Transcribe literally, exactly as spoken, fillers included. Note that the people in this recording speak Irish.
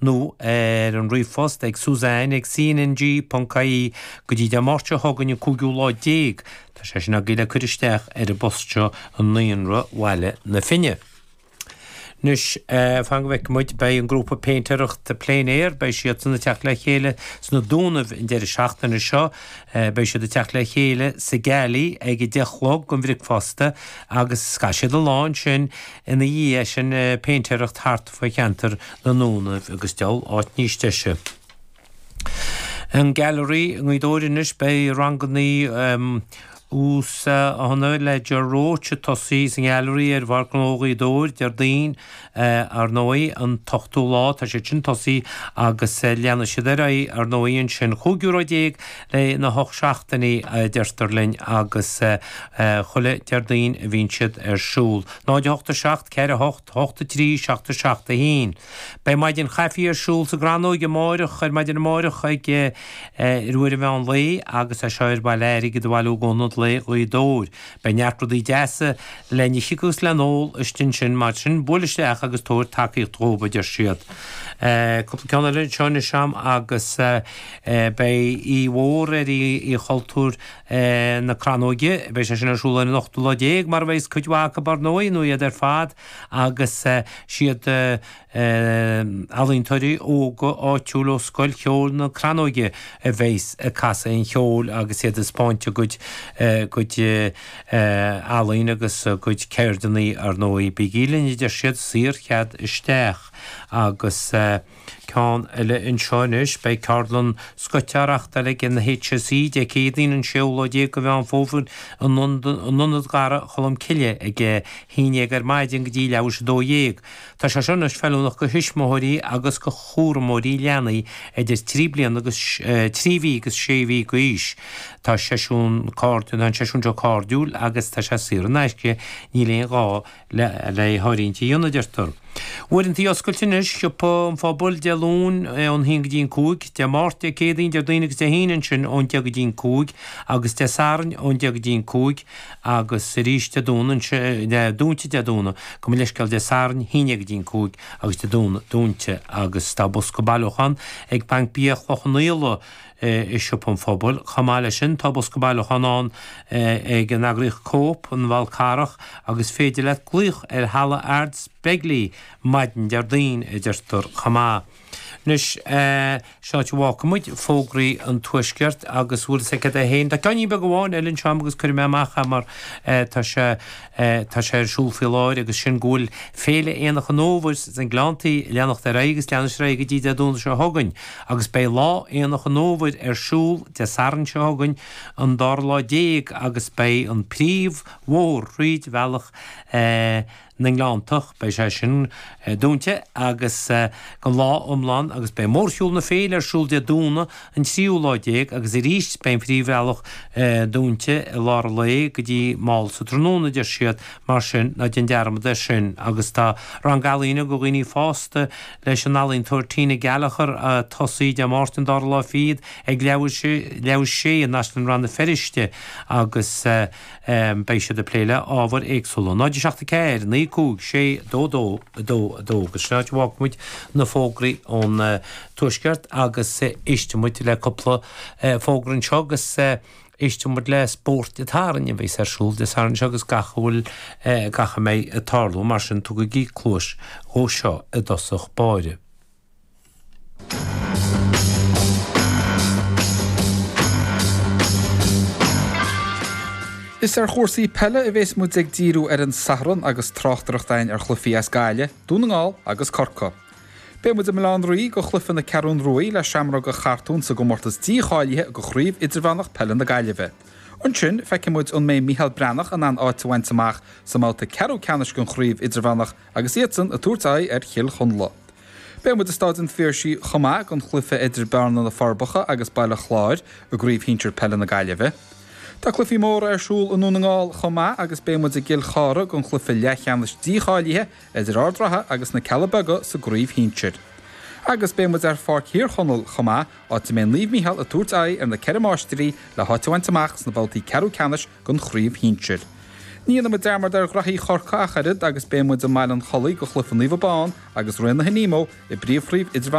nó ar an ríomhphost ag Suzanne ag C N G ponc I E go dtí Dé Máirt seo chugainn an cúigiú lá déag. Tá sé sin agaibh le cur isteach ar an bpost seo i Naíonra Bhaile na Finne. Anois fan go bhfeicfidh muid, beidh an grúpa péintéireachta Plein Air, beidh siadsan ag teacht le chéile sna Dúnaibh an deireadh seachtaine seo. Beidh siad ag teacht le chéile sa Galley ag a deich a chlog don bhricfeasta agus caithfidh siad an lá ansin ina dhiaidh sin péintéireacht thart faoi cheantar na nDúnaibh agus deabhal áit níos deise. An Gallery i nGaoth Dobhair anois, beidh ranganna uasdáthanna le Ger Roche ag tosaí sa nGallery ar Pháirc Ghnó Ghaoth Dobhair Déardaoin ar ndóigh an t-ochtú lá tá siad sin tosaí agus leanfaidh siad ar aghaidh ar ndóigh ansin chúig euro déag le na hocht seachtainí a deirtear linn agus chuile Déardaoin a bhíonn siad ar siúl. náid a hocht a seacht ceithre hocht hocht a trí seacht a seacht a haon. Beidh maidin chaife ar siúl sa gCrannóg amáireach ar maidin amáireach ag ar uair an mheán lae agus é seo ar mhaith le airgead a bhailiú d'Ionad Lae Ghaoth Dobhair. Beidh neart rudaí deasa le n-ithe agus le n-ól istigh ansin mar sin buail isteach agus tabhair tacaíocht dhóibh a deir siad. Cúpla ceann eile anseo anois a'm agus beidh oíche mhór ar Oíche Chultúir na Crannóige, beidh sé sin ar siúl ar an ochtú lá déag mar a bheidh cuid mhaith acu ar ndóigh nó iad ar fad agus siad ealaíontóirí óga áitiúil ó Scoil Cheoil na Crannóige a bheas ag casadh an cheoil agus iad ag spáint a gcuid gcuid ealaín agus a gcuid ceirdeanna ar ndóigh. Bígí linn a deir siad, saorchead isteach agus ceann eile anseo anois, beidh ceardlann scoite á reachtáil ag an H S E Dé Céadaoin an séú lá déag de Mheán Fómhair in Ionad Dhara Cholm Cille ag a haon déag ar maidin go dtí leathuair tar éis a dó dhéag. Tá sé seo anois feiliúnach do thuismitheoirí agus do chúramóirí leanaí idir trí bliana agus trí mhí agus sé mhí d'aois. Tá seisiún cairdiúil, tá an seisiún seo cairdiúil agus tá sé saor in aisce, níl aon ghá le le háirithint a dhéanamh, a deirtear. Uaireanta oscailte anois, Siopa an Phobail, Dé Luain ón haon go dtí an cúig, Dé Máirt, Dé Céadaoin, Déardaoin agus Dé hAoine ansin ón deich go dtí an cúig agus Dé Sathairn ón deich go dtí an cúig agus arís Dé Domhnaigh ansin, dúnta Dé Domhnaigh, gabh mo leithscéal Dé Sathairn, haon déag go dtí an cúig agus Dé Domhnaigh dúnta agus tá bosca bailiúchán ag Banc Bia Chloich Cheann Fhaola i Siopa an Phobail. Chomh maith leis sin, tá bosca bailiúchán ann ag an eagraíocht Cope an Fhál Carrach agus féidir leat glaoch ar Halla Ards Begley maidin Déardaoin, a deirtear chomh maith. Anois, seo áit a bhfágfaidh muid fógraí an Tuaiscirt agus bhfuil fhios agat é féin. Tá ceainnín beag amháin eile anseo agam agus cuirfidh mé amach é mar tá sé tá sé ar siúl faoi láthair agus sin go bhfuil Féile Aonach an Fhómhair sna Gleanntaí ag leanacht ar aghaidh agus leanfaidh sé ar aghaidh go dtí Dé Domhnaigh seo chugainn agus beidh Lá Aonach an Fhómhair ar siúl Dé Sathairn seo chugainn an dara lá déag agus beidh an príomh bhóthar thríd bhealach na nGleanntach, beidh sé sin dúnta agus don lá iomlán agus beidh mórshiúl na féile ar siúl Dé Domhnaigh an tríú lá déag agus arís beidh an phríomhbhealach dúnta i lár an lae go dtí mall sa tráthnóna, a deir siad, mar sin ná déan dearmad air sin. Agus tá rang ealaíne do dhaoine fásta leis an ealaíontóir Tina Gallagher ag tosaí Dé Máirt an dara lá fichead ag leathuair tar éis a sé i Náisiún Rann na Feirste agus beidh siad ag plé le ábhair éagsúla. náid seacht a ceathair, naoi cúig, sé, dó dó, a dó, a dó agus sin áit a bhfágfaidh muid na fógraí ón Tuaisceart agus éistfidh muid le cúpla fógra anseo agus éistfidh muid le Spórt an tSathairn a bheas ar siúl Dé Sathairn seo agus gach a bhfuil gach a mbeidh ag tarlú mar sin tugaigí cluas dhó seo i dtosach báire. Is ar chúrsaí peile a bhéas muid ag díriú ar an Satharn agus tráchtaireacht againn ar chluichí as Gaillimh, Dún na nGall agus Corcaigh. Beidh muid i mBaile Átha an Rí go chluiche na Ceathrún Ruaidh le Seamróga Chartún sa gcomórtas dícháilithe go Chraobh Idirmheánach Peile na Gaillimhe. Ansin, feicfidh muid an mbeidh Mícheál Breathnach in ann áit a bhaint amach sa mbabhta ceathrú ceannais den Chraobh Idirmheánach agus iadsan ag tabhairt aghaidh ar Chill Chonla. Beidh muid i Stáid an Phiarsaigh chomh maith don chluiche idir Bearna na Forbacha agus Baile Chláir i gCraobh Shinsir Peile na Gaillimhe. Tá cluichí móra ar siúl i nDún na nGall chomh maith agus beidh muid i gCill Chartha don chluiche leathcheannais dícháilithe idir Ard Ratha agus na Cealla Beaga sa gCraobh Shinsir. Agus beidh muid ar Pháirc Thír Chonaill chomh maith, áit a mbeidh Naomh Mícheál ag tabhairt aghaidh ar na Ceithre Máistrí le háit a bhaint amach sna babhtaí ceathrú ceannais den Chraobh Shinsir. Ní dhéanfaidh muid dearmad ar ghraithí Chorcaí ach oiread agus beidh muid i mBaile an Chollaigh go chluiche Naomh Abán agus Raonaithe Nemo i bPríomhchraobh Idirmheánach